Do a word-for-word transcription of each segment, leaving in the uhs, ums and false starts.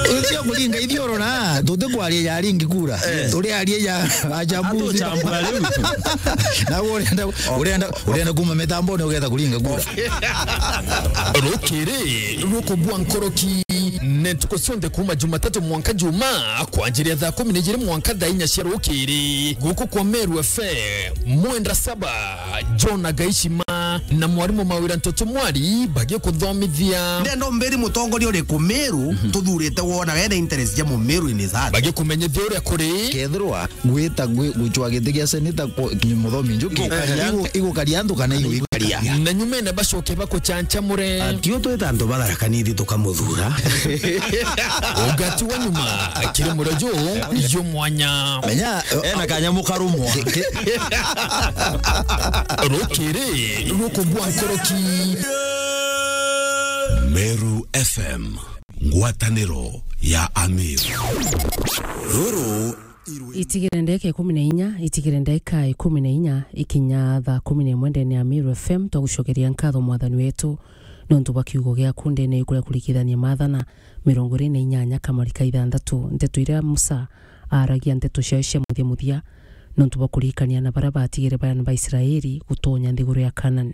Ucio kuringa ithiurura, tutikwaria ya ringi kura. Eh. Turiaria ya achambuzi. Atuchambura riu. Na urenda, urenda, urenda kuma mitamboni ugetha kuringa kura. Rukiri rukubua nkoroki, ni ntuku cionthe kuma Jumatatu mwanka Juma, kwanjiria thaa kumi na ijiri mwanka thaa inya cia rukiri, guku kwa Meru F M, mwenda saba, John Agaishima na mwarimu Mawira Ntoto Mwari bagikuthomithia. Ndenda umbiri mutongoria uriku Meru tuthurite wona wena interest ja Mumeru in his heart. Bagikumenyithia uria kuri. Kethirwa gwita gwi-, gucwa giti gia seneta ku-, ni Muthomi Njuki, igukaria antu kana iguikaria. Na nyumene bacoke bakuchanchamure. Atio twita antu batharakanithi tukamuthura. Ugati wa nyuma, kiri murojo, yo mwanya. Menya, ena kanyamu karumwa. Rukiri rukubua nkoroki. Meru F M, ngwataniro ya Amiru. Ruru itigire ndeka ikumi na inya, itigire ndeka ikumi na inya ikinya thaa kumi na imwe ndene ya Meru F M, twagucokeria nkatho Mwathani wetu nontu bwa kiugo giaku ndene yukuria kurikithania Mathana mirongo iri na inyanya kamari ka ithanthatu. Nteto iria Musa aaragia nteto ciayo cia muthia muthia, nontu bwa kuririkania na baria baatigire baana ba Israeli gutonya nthiguru ya Canaan.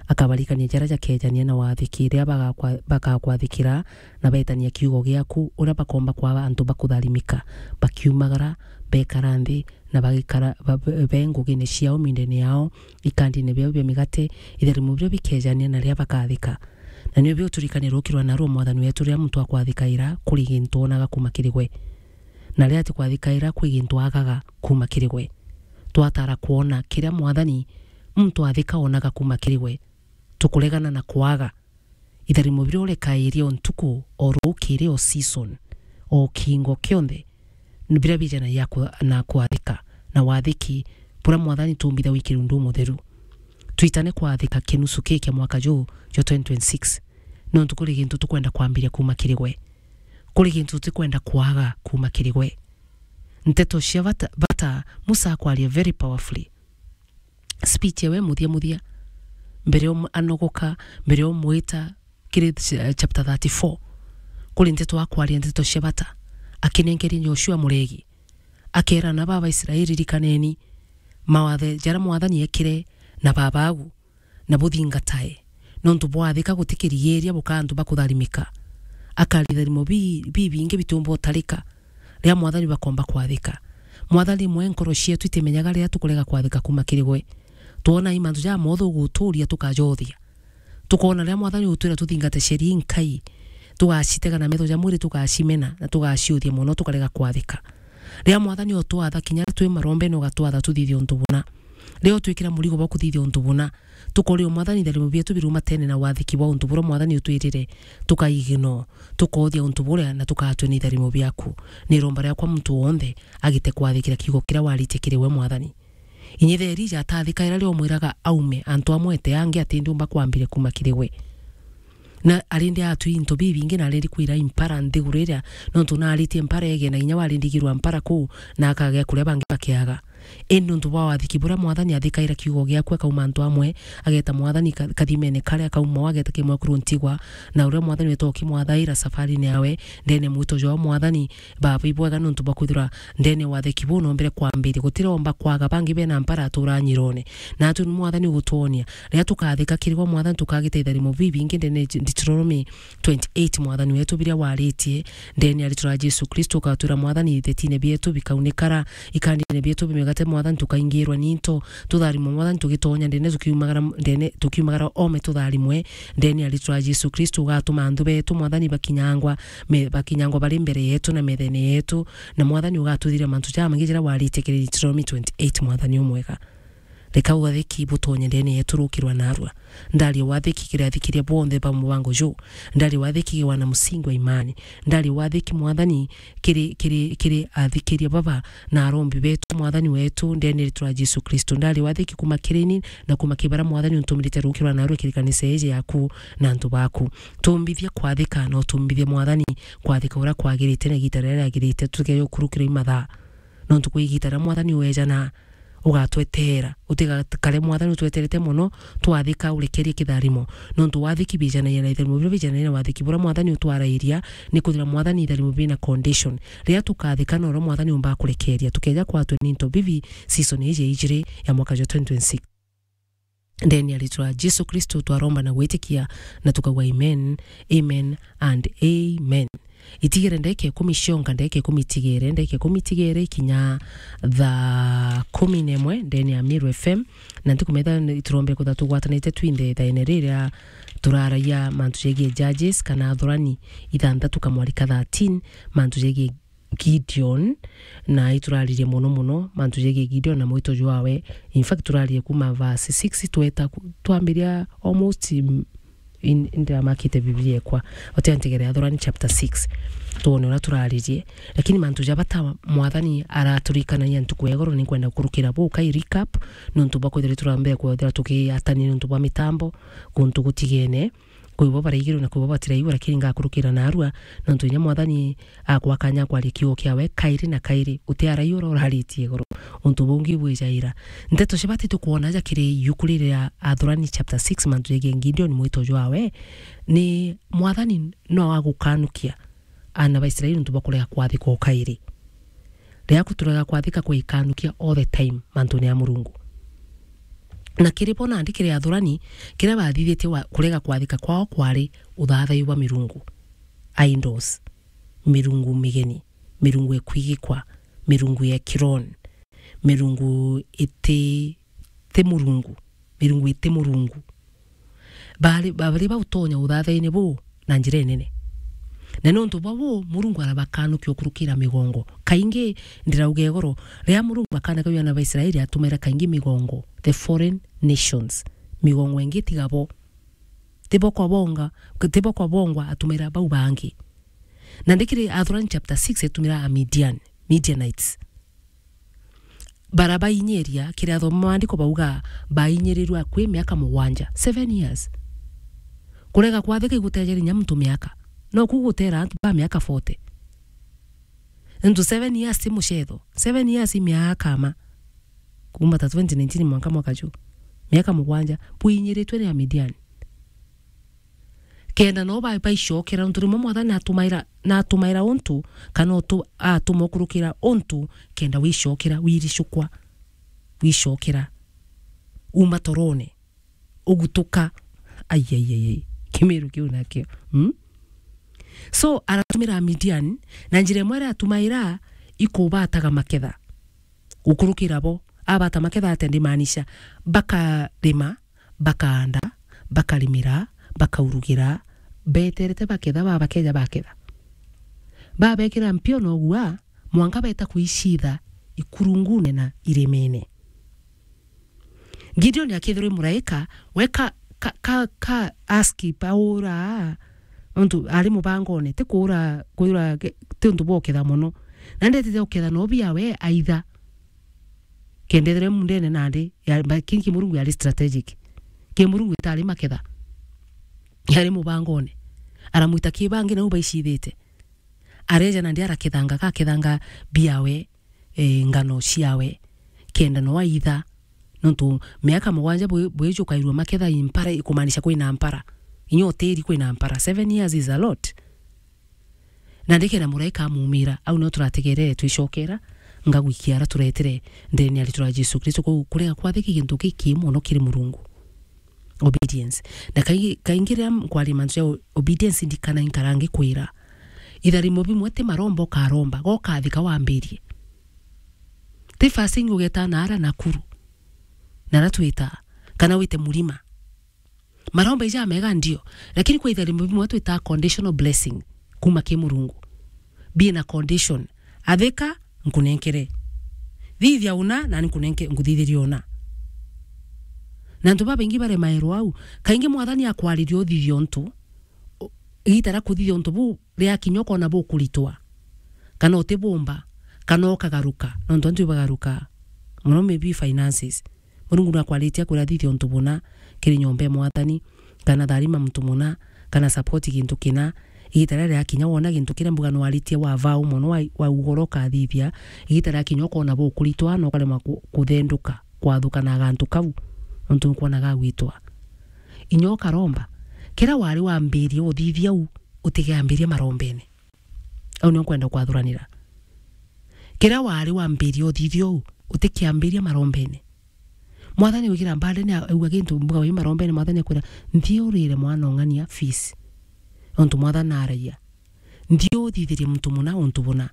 Akabarikania jaria jakejania na wathiki riria bagakwa-, bagakwathikira na beetania kiugo giaku, uria bakoomba kwaa antu ba kutharimika, bakiumagara, beekara nthi, na bagikara ba-, be-, be ngugine ciao, mindene yao, ikandine biao bia migate, itharimo biria bikejania na riria bakathika. Na nio biuturikania rukirwa narua Mwathani wetu riria muntu akwathikaira kuri gintu oonaga kuuma kiri gwe. Na riria atikwathikaira kwi gintu aagaga kuuma kiri gwe. Twatara kwona kiria Mwathani muntu athika oonaga kuuma kiri gwe, tukuregana na kwaga. Itharimo biria urekairia o ntuku, o rukiri, o season, o kiingo kionthe, ni biria bijanagia ku-, na kwathika, na wathiki buria Mwathani tuumbitha wi kirundu mutheru. Twitane kwathika kinusu kii kia mwaka juu jwa twenty twenty-six, nontu kuri gintu tukwenda kwambiria kuuma kiri gwe. Kuri gintu tutikwenda kwaga kuuma kiri gwe. Nteto cia bata, bata, Musa akwaria very powerfully. Speech ewe muthia muthia, mbere om-, anogoka, mbere omwita, kiri ch-, chapter thirty-four, kuri nteto akwaria nteto cia bata, akinenkeria Joshua muregi, akeera ana baba Israeli, "Ririkaneni mawatho jaria Mwathani ekire na baba agu, na buthingatae, nontu bwathika gutikirigiiria buka antu bakutharimika." Akaria itharimo bi-, bibingi bitiumba utarika, riria Mwathani bakomba kwathika. Mwathani mwe nkoro cietu itimenyaga riria tukurega kwathika kuuma kiri gwe. Twona i mantu jamothe uguturia tukajothia. Tukoona riria Mwathani ugutwira tuthingate cieri inkai, tugacitega na metho ja mwiri, tugacimena, na tugaciuthia mono, tukarega kwathika. Riria Mwathani utwatha, kinya riria twi marombene ugatwatha tuthithie untu buna. Riria utwikira murigo bwa kuthithia untu buna, tukoria Mwathani itharimo bietu birumatene na wathiki bwa untu buria Mwathani utwirire, tukaigino, tukoothia untu buria na tugatwina itharimo biaku. Ni iromba riakwa muntu wonthe agite kwathikira kiugo kiria waritie kiri we Mwathani. Inyithe Elija atathikaira riria omwiraga aume, antu amwe ete angi ati ndiumba kwambire kuuma kiri gwe. Na arindi atwi into bibingi na arindi kwira impara nthiguru iria, nontu naaritie mpara ege na inya warindigirwa mpara kuu, na akagea kuria bangi bakiaga. Indi nontu bwa wathiki buria Mwathani athikaira kiugo giaku, akauma antu amwe, ageta Mwathani ka-, kathimene karia, akauma o ageta kimwe kuru ntigwa, na uria Mwathani wetwa ukimwathaira safarini yawe, ndene mwito jwa Mwathani, Baba, ibwega nontu bwa kwithirwa ndene wathiki buu nombire kwambiria. Gutiromba kwaga bangi bena mpara atura nyirone. Natwi ni Mwathani ugutwonia. Riria tukathika kiri gwe Mwathani, tukagita itharimo bibingi ndene Deuteronomy twenty-eight, Mwathani wetu, biria waritie ndene ya ritwa ria Jesu Kristo, ukatwira Mwathani, ithetine bietu bikaunikara, ikandine bietu bimigate Mwathani, tukaingirwa ni into, tutharimwe Mwathani, tugitonya ndene, tukiumagara ndene, tukiumagara ome tutharimwe ndene ya ritwa ria Jesu Kristo, ugatuma anthu betu Mwathani bakinyangwa me-, bakinyangwa bari mbere yetu na methene yetu, na Mwathani ugatuthiria mantu jamaingi jaria waritie kiri Deuteronomy twenty-eight, Mwathani umwega. Reka wathiki butonye ndene yetu rukirwa narua. Ndaria wathiki kiri athikiria bonthe ba mubango juu. Ndaria wathiki kiri wana musingi wa imani. Ndaria wathiki Mwathani kiri, kiri, kiri athikiria baba na arombi betu, Mwathani wetu, ndene ritwa ria Jesu Kristo. Ndaria wathiki kuma kiri ni na kuma kiri baria Mwathani untumirite rukirwa narua kiri kanisa iji yaku na antu baku. Tumbithia kwathika na utumbithie Mwathani kwathika uria kwagirite na igita riria riagirite, tutige gukurukirwa i mathaa. Nontu kwi igita riria Mwathani wejana, ugatweteera. Utigakare Mwathani utweterete mono, twathika urekerie kitharimo. Nontu wathiki bijanagia na itharimo biria bijanagia na wathiki buria Mwathani utwarairia, ni kwithira Mwathani itharimo bina condition. Riria tukathika noro Mwathani umbaa kurekeria, tukeja kwatwe ni into bibi season iji ya ijiri ya mwaka jwa twenty twenty-six. Ndeni ya ritwa Jesu Kristo twaromba na gwitikia na tukauga amen, amen and amen. Itigere ndeke ikumi cionka, ndeke ikumi itigere, ndeke ikumi itigere ikinya thaa kumi na imwe ndeni ya Meru F M, na ntikumenya iturombere kwithirwa tugwatanite twinthe ithaene riria turaragia mantu jegie Judges kana Athurani ithanthatu kamwari ka thirteen, mantu jegie Gideon, na ituraririe mono mono mantu jegie Gideon na mwito jwawe. In fact, turaririe kuma verse six tweta ku-, twambiria almost, mm, in-, ndiamakite Biblia ekwa. Otea ntegere Athurani chapter six. Tuone uria turaririe. Lakini mantu ja bata Mwathani araturikanagia ntuku ya igoro, ninkwenda gukurukira bu kai recap, nontu bwa kwithirwa turambia kwithira tukiatania nontu bwa mitambo, kuntu gutigene. Kwi bo baraigirwe na kwi bo batiraigua, lakini ngakurukira narua, nontu inya Mwathani akwa kanya kwaria kiugo kiawe kairi na kairi, utiaraia uria uraritie igoro. Untu bungi bwijaira. Nteto cia bata itukwona ja kiri iuku riri ria Athurani chapter six, mantu jegie Gideon mwito jwawe, ni Mwathani no agukanukia aana ba Israeli nontu bwa kurega kwathika o kairi. Riria kuturega kwathika kwikanukia all the time mantune ya Murungu. Na kiri bo nandi kiri Athurani, kiria bathithitie wa-, kurega kwathika kwao kwari uthathaiu bwa mirungu, idols, mirungu migeni, mirungu ekwigikwa, mirungu ya kironi, mirungu iti, ti Murungu, mirungu iti Murungu. Bari, bari bautonya uthathaine buu na njira inene. Na nontu bwa buu, Murungu arabakanukia ukurukira migongo. Kaingi, ndirauga igoro, riria Murungu akanakagua aana ba Israeli, atumaira kaingi migongo, the foreign nations. Migongo ingi tiga bo. Ti bo kwa bonga, ti bo kwa bongwa, atumaira bau bangi. Na ndikiri Athurani chapter six etumira Amidian, Midianites. Barabainyiria, kiri athoma maandiko bauga, bainyirirwe akui miaka mugwanja, seven years. Kurega kwathika igutejeri nya muntu miaka. No ku gutera antu ba miaka forty. Ntu seven years ti mucetho. Seven years i miaka ma. Kuma ta twenty nineteen mwanka mwaka ju. Miaka mugwanja. Bwinyiritwe ni Amidian. Kenda no ba-, baicokera, nontu rimwe Mwathani natumaira, natumaira untu, kana utu-, atuma ukurukira untu, kenda wicokera, wiricukwa, wicokera, uma torone, ugutuka. Ai, ai, ai, ai. Kimiru kiu nakio. Hmm? So, aratumira Midian, na njira imwe aria atumaira, ikubataga maketha. Gukurukira bo, abata maketha atia ndimaanisha, bakarima, bakaanda, bakarimira, bakaurugira, beterete baketha, babakeja baketha. Babekira mpio na ugua, mwanka beta kuicitha ikurungune na irimene. Gideon akethirwa i muraika, we ka, ka, ka, ka askip aura, nontu ari mubangone, ti kuura, kwira ge-, ti untu bwa uketha mono. Na ndetete uketha no biawe aitha. Kendethire mundene nandi, ya, ba-, kinki Murungu yari strategic. Ki Murungu itari maketha. Yari mubangone. Aramwita ki bangi nau baicithite. Areja nandi arakethanga, gakethanga biawe, eh, ngano ciawe. Kenda no aitha. Nontu miaka mugwanja bwi-, bwijukairwe maketha i mpara, ikumaanisha kwina mpara. Inya utiri kwina mpara. Seven years is a lot. Na ndikenda muraika amumira, au no turategerere twicokera, ngagwikia ara turetire ndene ya ritwa ria Jesu Kristo. Kwou kurega kwathiki gintu giki mono kiri Murungu. Obedience. Na kaingi, kaingi riria nkwaria mantu ja o-, obedience ndikana inkara ngikwira. Itharimo bimwe ti maromba ukaromba, gokathika wambirie. Ti fasting ugeta na ara Nakuru. Na ara twita, kana wite murima. Maromba ija mega ndio, lakini kwi itharimo bimwe twita conditional blessing kuma ki Murungu. Bina condition. Athika, nkunenkere. Thithia una, nani nkunenke-, nkuthithirie una. Na antu babaingi baremairwa au. Kaingi Mwathani akwariria uthithia untu, u-, igita ria kuthithia untu buu riakinya ukona bukuritwa. Kana utibumba, kana ukagaruka. Nontu antu ibagaruka. Mono maybe finances. Murungu nakwaritie akwira thithia untu buna kiri nyomba ya Mwathani, kana tharima muntu muna, kana support gintu kina, Igita riria riakinya wona gintu kiria mbuga nwaritie wa vau mono wa, wa ugoro ukathithia, igita riakinya ukona bukuritwa na ukaremwa ku-, kuthenduka, kwathuka na gantu kau, nontu nukwona gagwitwa. Inya ukaromba, kiria wari wambirie uthithia u, utigiambiria marombene. Au nio nkwenda kwathuranira. Kiria wari wambirie uthithia u, utikiambiria marombene. Mwathani wigira mbandene a-, auga gintu mbuga wi marombene, Mwathani akwira, "Nthi urire mwana ung'ania fees." Nontu Mwathani aragia, "Nthi uthithirie muntu muna untu buna."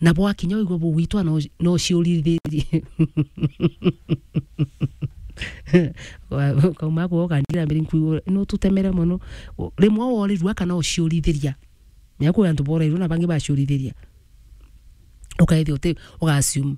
Na bwakinya wigua bugwitwa no, no ciurithirie. Wa-, ukauma kuo ukandira mbere nkuigua, "No tutemere mono." Rimwe worirua kana uciurithiria. Nya kwi antu borairua na bangi baciurithiria. Ukaithia uti, uga assume.